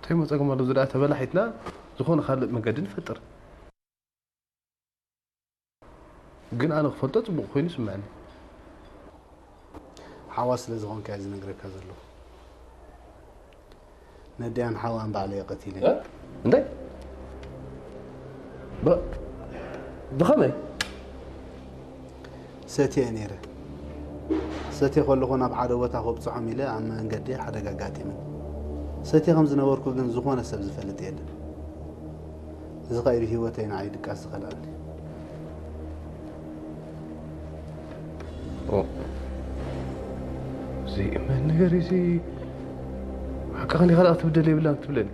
እንታይ ጸገም ኣሎ? ዝኣ ተበላሒትና ዝኾነ ካልእ መገዲ ንፈጥር። ግን ኣነ ክፈልጦ ጽቡቕ ኮይኑ ይስምዐኒ። ሓዋ ስለ ዝኾንካ እየ ዝነግረካ ዘለኹ። ነዲያን ሓዋን ባዕለ እየ ቀቲለ። እንታይ? ብኸመይ? ሰትየ ነይረ። ሰትየ ከለኹ ናብ ሓደ ቦታ ከብፅሖም ኢለ ኣብ መንገዲ ሓደጋ ኣጋጢመን። ሰትየ ከም ዝነበርኩ ግን ዝኾነ ሰብ ዝፈልጥ የለን። እዚ ኸኣ ብህይወተይ ንዓይ ድቃስ ዝኸልኣኒ። እዚ መን ነገር እዚ ሓቅኻ ዲኻ ደኣ ክትብደል የብላን ትብለኒ?